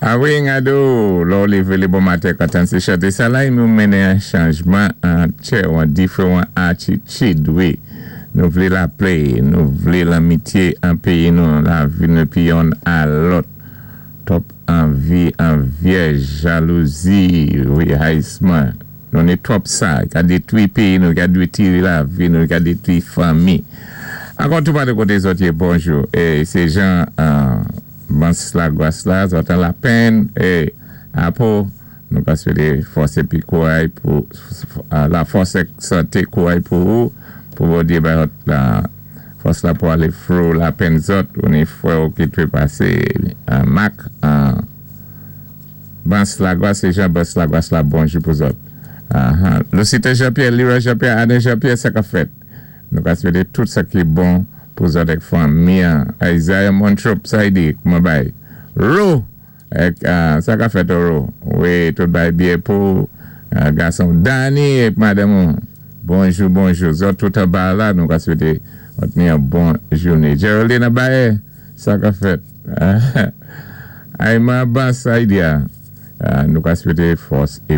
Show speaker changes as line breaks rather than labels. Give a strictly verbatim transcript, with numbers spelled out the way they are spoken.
Awi, ngado, lò lévé lé bon maten ka tann sé chanté sa la, nou mennen an chanjman an tjè, an diféwan atitid, wi. Nou vlé lapè, nou vlé lanmitié an péyi nou, lavi nou pi yonn a lòt. Twòp anvi, anvyèj, jalouzi, wi, rayisman. Nou ni twòp sa, ka détwi péyi nou, ka détwi lavi nou, ka détwi fanmi. Ankò tou pa de koté zòt yé, bonjou. É sé Jean Bans Lagwas la, zòt an lapenn, é apo, nou ka swété fòs épi kouray pou, la fòs é santé kouray pou ou, pou Bondyé bay la fòs la pou alé through lapenn zòt, ou ni fwè ou ki twépasé Mak, Bans Lagwas, sé Jean Bans Lagwas la, bonjou pou zòt. Lucita Jean-Pierre, Lira Jean-Pierre, Aden Jean-Pierre, sa ka fèt. Nou ka swété tout sa ki bon pou zòt èk fanmi an. Isaiah Montrop, sa y di, kouman bay. Ro, èk, sa ka fèt ro. Wi, tout bay byen pou gason Danny èk madanm ou. Bonjou, bonjou. Zòt tout an ba la, nou ka swété ot ni an bon jouné. Geraldine Abaye, sa ka fèt. Ayman Bas, sa y di a. Nou ka swété fòs é